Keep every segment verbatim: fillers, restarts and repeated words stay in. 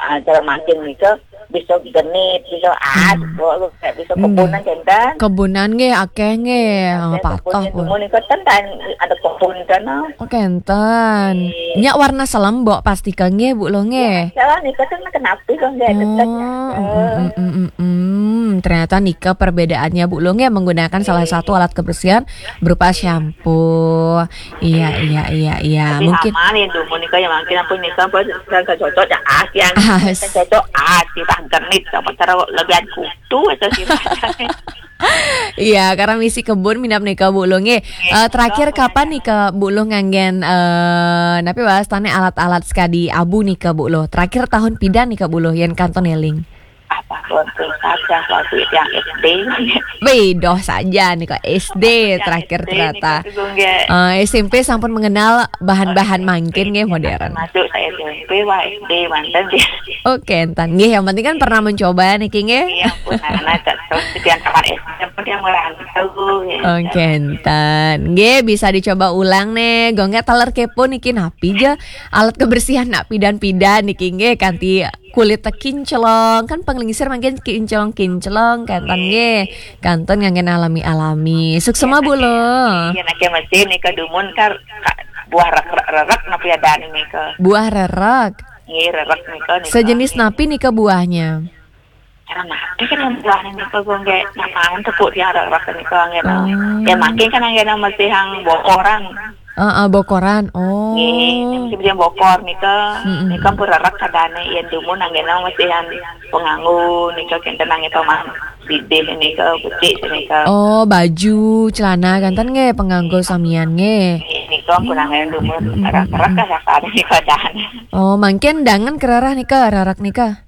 Ah, cara mancing nika bisa genit, bisa as, hmm, bisa kebun, hmm, kénten. Kebunan nggih akeh nggih. Ah, patuh pun. Dumun nika ten ada kebun nika, no. Oh, kénten. Nggih. Nyak warna selem, Mbok, pasti ka nggih, Bu Luh, nggih. Ya, salah nika ten kenapa kok nggih, tetep ya. Oh, mm, mm, mm, mm, mm. Ternyata nika perbedaannya, Bu Luh, nggih, menggunakan salah satu alat kebersihan berupa shampoo. Iya, iya, iya, iya. Tapi mungkin aman ya, dumun nika ya, mungkin ampun nika apa, kan cocok ya, as yang as. Kan cocok, as, kita genit, apa cara lebihan kutu itu sih. Iya, karena misi kebun minap nika, Bu Luh, nggih. Nggih, eh, terakhir betul, kapan nika, Bu Luh, nganggen, eh, napi wastane alat-alat sekadi abu nika, Bu Luh? Terakhir tahun pidan nika, Bu Luh, yen kanton eling? Apa, tahun saja waktu itu yang S D. Wih, doh saja nih kok S D. Yang terakhir S D ternyata. Nih, nggih. Eh, S M P sampun mengenal bahan-bahan mangkin nggih, modern. Masuk saya S M P, wah, S D manten dia. Oke, entan. Nggih, yang penting kan pernah mencoba niki nggih. Iya, pun anak terus sekian kamar S D pun dia merantau ya. Oke, entan. Nggih, bisa dicoba ulang nih. Gongge taler kepo niki napi ja alat kebersihan nak pidan-pidan niki nggih, kanti kulit teh kinclong, kan penglingsir mangkin kinclong-kinclong, kanten nggih. Kanten nganggen alami-alami. Suksema, Bu Luh. Iya, nake mesin nika dumun kar, ka-, buah rerek, rerek napi adan nika. Buah rerek. Nggih, rerek nika, nika. Sejenis napi nika buahnya? Cara napi kan buahnya nika, gongge, namaan tepuk dia rerek nika, nggih, no. Oh. Ya, makin kan nggih, no, mesti yang bokoran. Heeh, bokoran. Oh. Nggih, sing bokor nika, mm-mm, nika pun rerek kadane, yen dumun anggena mesti yang penganggo nika kenten nang toman bidih nika, becik nika. Oh, baju, celana kanten nggih penganggo samian nggih. Nggih, nika pun anggena dumun, mm-mm, rerek-rerek kasarane nika dan. Oh, mangkin dangan kerereh nika, rerek nika.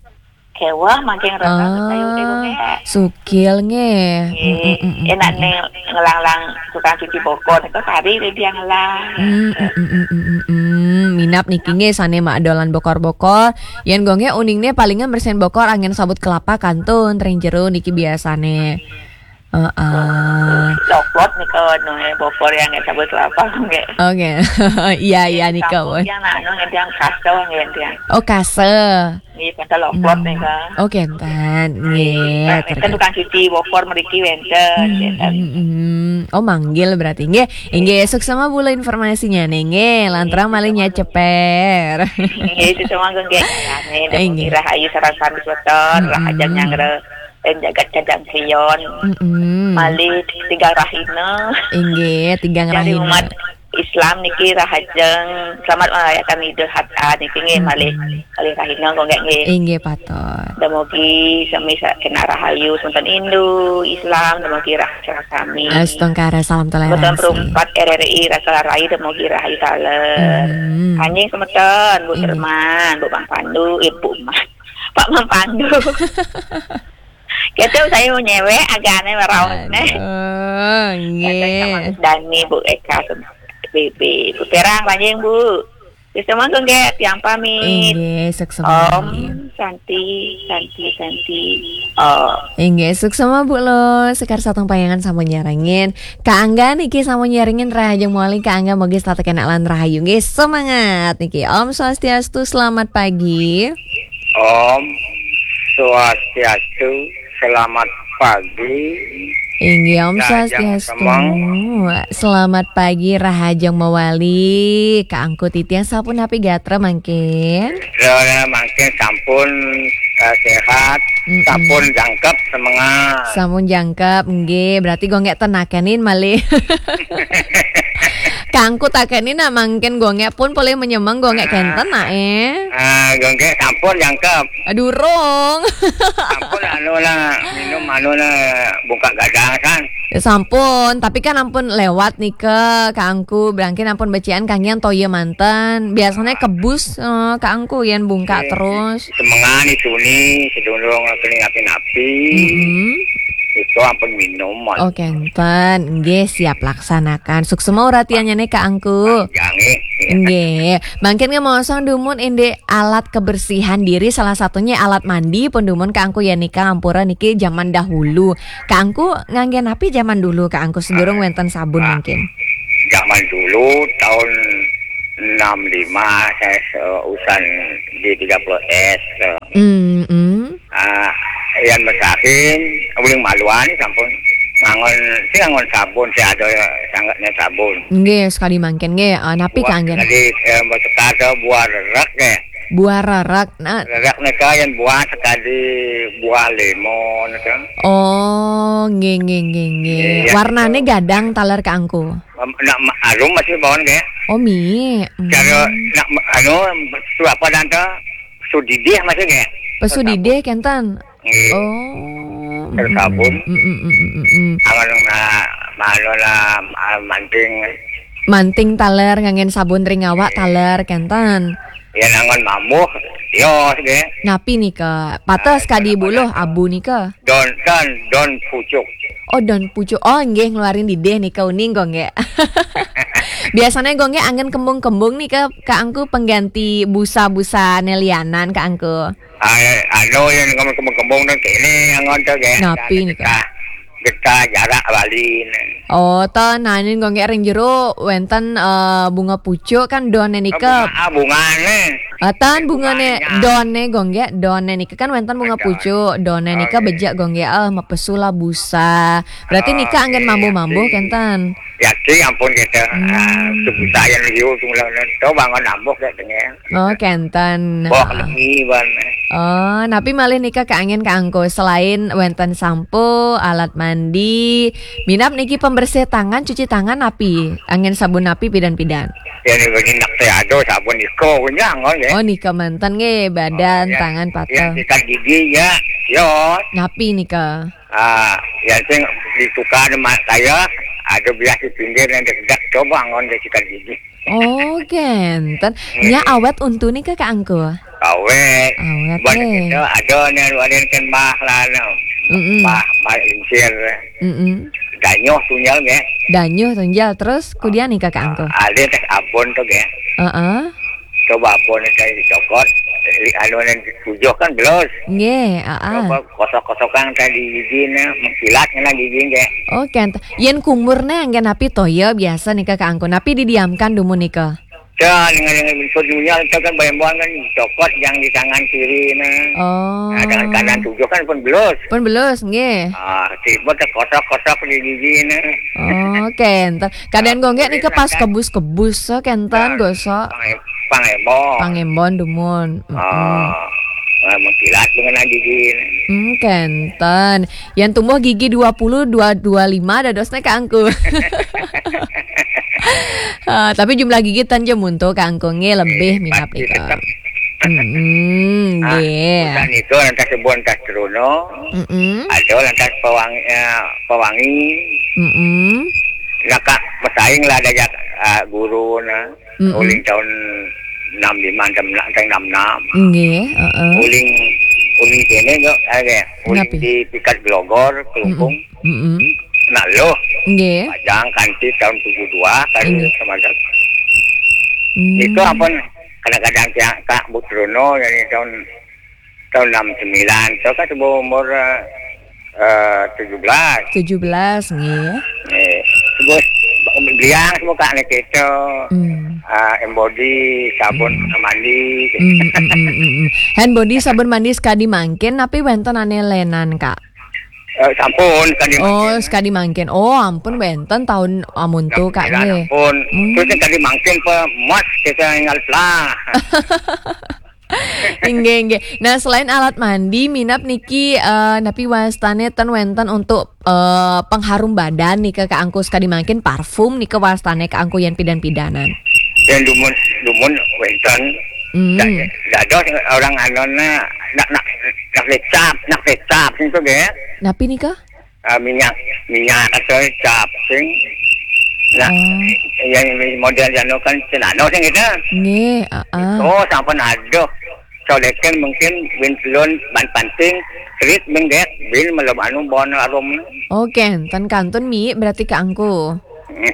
Kewah makin rasa kayu itu nggih. Sukil nggih. Nggih. Mm, mm, mm, mm, enak mm, mm. Nih ngelanglang tukang cuci bokor itu tadi dia ngelang. Mm, mm, mm, mm, mm, mm. Minap niki nggih sane mak dolan bokor-bokor. Yen gongge uningne palingan bersihin bokor angin sabut kelapa kantun tering jero niki biasane. Heeh. Loklot nika anu, eh, bokor yang nggih sabut kelapa nggih. Oke. Iya, iya nika, Bu. Yang anu nggih yang kase nggih yang. Oh, kase. Nggih, pada loklot nika. Oke, entan. Nggih, kan tukang cuci bokor mriki wenten, hmm, wenten. Hmm, hmm, hmm. Oh, manggil berarti nggih. Nggih, suksema Bu Luh informasinya nih nggih. Lantrang malih nyaceper. Nggih, suksema nggih. Nggih, rahayu sareng sami semeton, hmm, rahayu nyanggra. Ing jagat Kadang Kriyon. Mm-mm. Malih tigang rahina. Inggih, tigang rahina. Dari umat Islam niki rahajeng selamat merayakan Idul Adha niki nggih, mm-mm, malih, malih rahina kok nggih. Inggih, patut. Dumugi sami sa-, kena rahayu semeton Hindu, Islam, dumugi rahayu sami. Astungkara salam toleransi. Semeton perumpat R R I Raka Rai dumugi rahayu taler. Mm-hmm. Anjing semeton, Bu, inggih, Derman, Bu Mang Pandu, Ibu Mang. Pak Mang Pandu. Gitu, saya mau nyewek, agaknya raos nih. Aduh, nggih. Dani, Bu Eka, B B, Bu Perang, panjang, Bu. Wis, monggo nggih, tiang pamit. Inggih, suksema. Om Santi, Santi, Santi, Om. Inggih, suksema, Bu Luh. Sekar sareng payangan sampun nyarengin. Kak Angga niki sampun nyarengin, rahajeng mawali Kak Angga, mugi tetep kenak lan rahayu. Nggih, semangat niki. Om Swastiastu, selamat pagi. Om Swastiastu, selamat pagi. Inggih, Om Swastiastu. Selamat pagi, rahajeng mawali. Kak Angku titiang sampun napi gatra mangkin? Gatra mangkin sampun, eh, sehat, mm-mm, sampun jangkep, semangat. Sampun jangkep, nggih. Berarti gongge ten nakenin malih. Kangku takenin nak mangkin gongge pun polih menyemeng gongge kenten nak, eh. Ah, gongge sampun jangkep. Ah, durung. Sampun anu lah, minum anu lah, bungkak gadang kan. Ya, sampun, tapi kan ampun lewat nika, Kangku. Berangkin ampun becikan kanggian toya manten. Biasanya kebus, eh, Kangku yen bungkak terus. Semengan itu nih, sedurung kening api-api. Mm-mm. Itu ampun minum, Mon. Oke, enten. Nggih, siap laksanakan. Suksema uratiannya nih, Kak Angku. Panjang, eh. Nggih. Mangkin nggih mosong dumun indik alat kebersihan diri, salah satunya alat mandi pun dumun Kak Angku ya nika, ampura niki zaman dahulu. Kak Angku ngangge napi zaman dulu, Kak Angku, sedurung wenten sabun mungkin? Zaman dulu tahun enam lima saya seusan di tiga puluh S, eh, Hmm, hmm. Ah, yan masahin, uling maluan sampun. Ngangon, sing ngangon sabun, sing ada sangatnya sabun. Nggih, sekadi mangkin nggih. Ah, napi Buah kanggen? Sekadi, eh, masekar to buah rerak nggih. Buah rerak. Nah. Rerak nika yan buah sekadi buah lemon to. Oh, nggih, nggih, nggih, nggih. Iya, Warnane to. Gadang taler kaangku. Em, nak ma-, arum masih bawon nggih. Oh, mi. Hmm. Cara nak ma-, anu, tu apa dan to? Sudidih masih nggih. Pesudidih kenten. Nggih. Oh. Tersabun. Mm, mm, mm, mm, mm, mm. Awan na, malu lah, ah, manting. Manting taler nganggen sabun ring awak taler kenten. Ya, nangon mambuh. Yo, nggih. Napi nika? Pateh Ah, sekadi kenapa buluh dah? Abu nika. Don, don, don pucuk. Oh, don pucuk. Oh, nggih, ngeluarin didih nika uning, Gong, nggih. Biasanya, Gong, nggih, anggen kembung-kembung nika, kaangku pengganti busa-busa nelianan, kaangku. Ah, anu, yan kembung-kembung nang kene, angon to, nggih. Napi nika? Getah, getah jarak bali, nang. Oh, to, nanin, Gong, nggih, ring jero wenten, eh, bunga pucuk kan done nika. Ah, bunga, ah, bungane. Ah, tan bungane, bunganya. Done, Gong, nggih, done nika kan wenten bunga Ada. Pucuk, done nika Oh, iya. Bejek, Gong, nggih, eh, mapesu lah busa. Berarti Oh, nika anggen iya, mambuh-mambuh iya. Kenten. Yakin ampun kita. Hmm. Ah, sebusa yang liu tu lah, to bangun ambuh kat tengah. Oh, kenten. Boh Nah. Lemi ban. Oh, napi malih nika kaanggen kaangku selain wenten sampo, alat mandi, minab niki pembersih tangan, cuci tangan napi? Anggen sabun napi pidan-pidan? Ya, ni bagi nak saya ada sabun iko punya, ngon, ya. Oh, nika manten nggih, badan, Oh, ya. Tangan, Ya, patah. Sikat gigi, ya. Yo. Napi nika? Ah, ya, sing ditukar mak saya, ada biasa pinggir yang dekat, coba ngon dia sikat gigi. Oh, kenten. Nya Hmm. Awet untu nika kaangku? Awet. Awet, Buat eh. Kita ada ni, ada yang kan bah lah, no. Mm-mm. Bah, bah lincir. Mm-mm. Danyuh tunjal, nggih. Danyuh tunjal, terus kudian nika kaangku? Ah, ada teh abon tu, nggih. Heeh. Coba abon teh dicokot, eh, anu yang tujuh kan belos. Nggih, heeh. Coba kosok-kosokan teh di gigi ni, mengkilat kena gigi, nggih. Oh, kenten. Yen kumur ne anggen napi toya biasa nika kaangku? Napi didiamkan dumun nika? Ya, dengan, dengan bentuk dunia kita kan bayang-bayang kan cokot yang di tangan kiri nah. Oh. Nah, tangan kanan tujuh kan pun belus. Pun belus, nggih. Ah, sibut kosok-kosok di gigi nah. Oh, kenten. Kadang Ah, Gong nggih nika pas lantas. Kebus-kebus, so, kenten, Nah, gosok. Pang-, pangembon. Pangembon dumun. Mm-mm. Ah, ah, mengkilat dengan gigi nah. Hmm, kenten. Yang tumbuh gigi dua puluh, dua, dua lima dadosnya kaangku. Ah, tapi jumlah gigi tan ja muntul kaangku nggih lebih Eh, minab pasti nika. Tetap. Mm-mm, Ah, nggih. Udah nika lantas sebut lantas Trono. Mm-mm. Ada lantas pewangi, eh, pewangi. Mm-mm. Nak masaing lah ada jak, ah, guru nah. Mm-mm. Uling tahun enam lima, enam enam, tahun enam enam. Nggih, heeh. Uling, uling kene juga, eh, uling Napi? Di Pikat Gelogor, Kelungkung. Mm-mm. Mm-mm. Nak loh. Nggih. Pajang kanti tahun tujuh dua kali Nggih. Sama ada. Hmm. Itu apa kadang-kadang tiang Kak Butrono dari tahun, tahun enam sembilan. Itu kan sebuah umur, eh, eh, tujuh belas. Tujuh belas, nggih. Eh, terus beliang semua Kak ni kita. Hmm. Ah, hand body, sabun Hmm. mandi. Hmm, hmm, hmm, hmm, hmm. Hand body, sabun mandi sekadi mangkin, tapi wenten ane lenan, Kak? Eh, sampun, sekadi Oh, mangkin. Sekadi mangkin. Oh, ampun, wenten tahun amun tu, Kak, Alhamdulillah, nggih. Ampun. Hmm. Terus sekadi mangkin pe mas kita ingat lah. Inggih, inggih. Nah, selain alat mandi, minab niki, eh, napi wastane ten wenten untuk, eh, pengharum badan nika kaangku sekadi mangkin parfum nika wastane kaangku yen pidan-pidanan. Yang dumun, dumun wenten. Hmm. Da-, dados orang anona nak, nak, nak lecap, nak lecap itu nggih. Napi nika? Ah, minyak, minyak atau cap sing. Nah, Oh. Yang model jano kan cenano sing itu. Nggih, heeh. Oh, sampun aduh. Solekan mungkin bin telun ban panting, krit bin dek, bin melem anu bon arum. Oh, kenten kantun mi berarti kaangku. Hmm,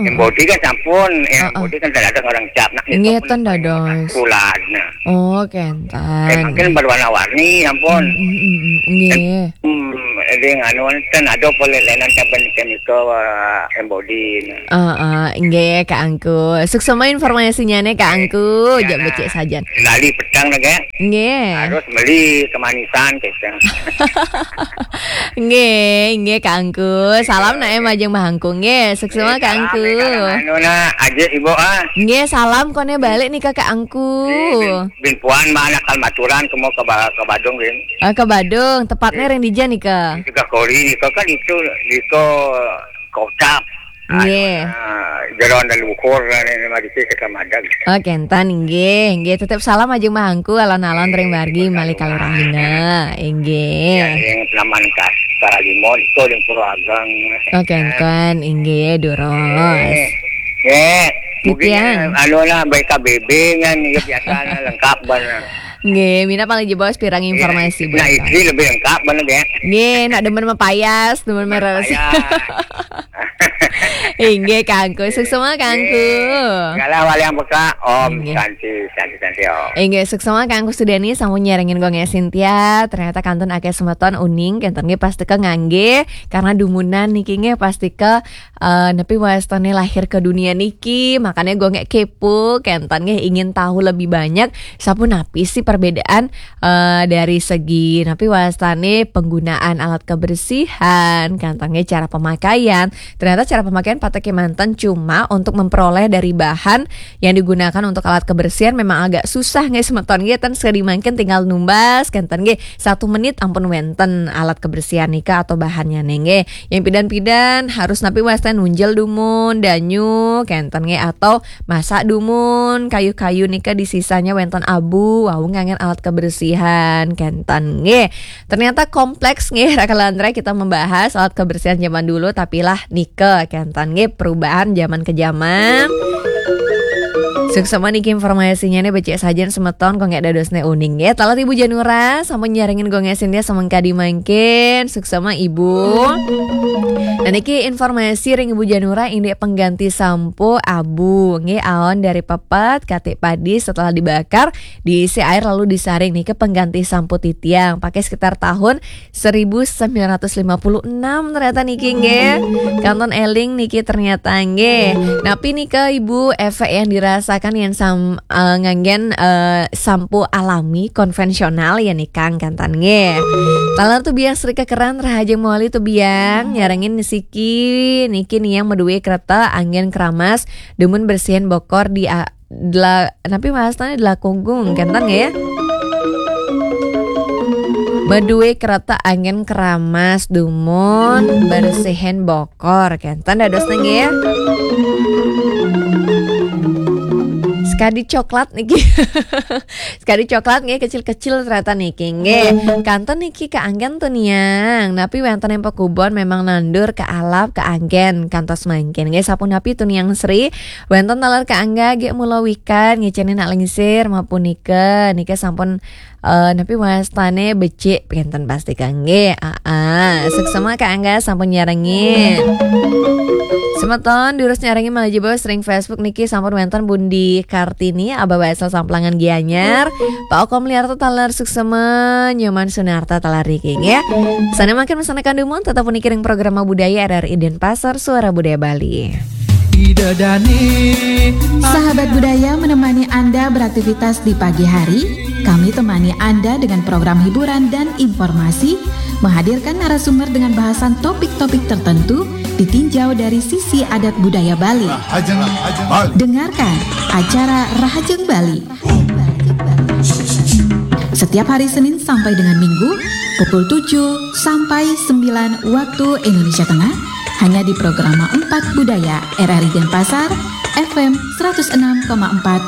Yang hmm. Body kan sampun, yang Heeh. Body kan tak ada orang cap nak Nggih, itu pun ten dados. Kulat, nah. Oh, kenten. Eh, mungkin berwarna-warni, ampun. Hmm, hmm, hmm, hmm. Nggih. Hmm, Jadi anu ten ada boleh lenan caben kemikal embodi. Heeh, nggih Kak Angku. Suksema informasinya nih Kak Angku, jak becik sajan. Lali petang nih, Kak. Nggih. Harus beli kemanisan kita. Nggih, nggih Kak Angku. Salam nak em ajeng Mbah Angku. Nggih, suksema Kak Angku. Anu nak aja ibu ah. Nggih, salam kone balik nih ke Kak Angku. Bin puan mana kal maturan kemo ke, ba- ke Badung, Bin. Eh, ke Badung, tepatnya ring dija nika? Tiga kali nika kan itu nika kota. Nggih. Anu, jeron dan ukur dan ini mah dicek kita madag. Oh, kenten nggih, nggih tetep salam aja Mbah Angku alon-alon ring margi malih kalurahina. Inggih. Ya, yang naman kas Kalimo itu yang Pura Agang. Oh, kenten inggih durus. Nggih. Nggih. Mungkin anu lah baik K B B kan ya biasa lengkap banget. Nggih, mina paling jebos pirang informasi. Nah, istri lebih lengkap mana ya? Nggih, nak demen mepayas, demen meres. Inggih Kangku, suksema Kangku. Galah wali yang peka, Om. Inggih. Santi, santi, santi, Om. Inggih, suksema Kangku Sudani sampun nyarengin gongnya Cynthia. Ternyata kantun akeh semeton uning, kenten nggih pasti ke ngangge karena dumunan niki nggih pasti ke eh, nepi wastane lahir ke dunia niki, makanya gue nggak kepo, kenten nggih ingin tahu lebih banyak sapunapi sih perbedaan eh, dari segi nepi wastane penggunaan alat kebersihan, kenten nggih cara pemakaian. Ternyata cara pemakaian pateke manten cuma untuk memperoleh dari bahan yang digunakan untuk alat kebersihan memang agak susah nggih semeton nggih ten sekali mangkin tinggal numbas kenten nggih satu menit ampun wenten alat kebersihan nika atau bahannya nggih. Yang pidan-pidan harus napi wasta nunjel dumun, danyu, kenten nggih atau masak dumun, kayu-kayu nika disisanya wenten abu, wau nganggen alat kebersihan, kenten nggih. Ternyata kompleks nggih, Raka Landra kita membahas alat kebersihan zaman dulu, tapi lah nika, kenten nggih perubahan zaman ke zaman. Suksema niki informasinya nih becik sajen semeton kok nggak dados ne uning nggih. Talat Ibu Janura sampun nyarengin gongnya Cynthia semengkadi mangkin. Suksema Ibu. Nah niki informasi ring Ibu Janura indik pengganti sampo abu nggih aon dari pepet katik padi setelah dibakar diisi air lalu disaring niki pengganti sampo titiang pakai sekitar tahun seribu sembilan ratus lima puluh enam ternyata niki nggih. Kanton eling niki ternyata nggih. Napi nika Ibu efek yang dirasakan yang sam eh, nganggen eh, sampo alami konvensional ya nikang kantan nggih. Talar tuh biang Sri Kekeran rahajeng mawali tuh biang nyarengin siki niki niang meduwe kereta anggen keramas dumun bersihin bokor di a- dela napi wastane dela kungkung kenten nggih ya. Meduwe kereta anggen keramas dumun bersihin bokor kenten dados nggih ya. Sekadi coklat niki. Sekadi coklat nggih kecil-kecil ternyata niki nggih. Kanten niki keanggen tuh niang. Napi wenten yang pekubon memang nandur ke alap keanggen kantos mangkin nggih sapunapi tuh niang Sri. Wenten taler keangga nggih mula wikan ngiceni nak lingsir mapunika nika sampun eh, napi wastane becik kenten pasti kangge. Ah, ah. Suksema keangga sampun nyarengin. Semeton durus nyarengin malah jebos ring Facebook niki sampun wenten Bundi Kartini Abah Baesel Samplangan Gianyar. Pak Okom Liarto taler suksema Nyoman Sunarta taler niki nggih. Sana makin mesana kandumun tetap puniki ring program budaya R R I Denpasar Suara Budaya Bali. Ida Dani. Sahabat budaya menemani Anda beraktivitas di pagi hari. Kami temani Anda dengan program hiburan dan informasi, menghadirkan narasumber dengan bahasan topik-topik tertentu ditinjau dari sisi adat budaya Bali. Rahajeng Bali. Dengarkan acara Rahajeng Bali. Setiap hari Senin sampai dengan Minggu, pukul tujuh sampai sembilan waktu Indonesia Tengah, hanya di Programa empat Budaya R R I Denpasar, F M seratus enam koma empat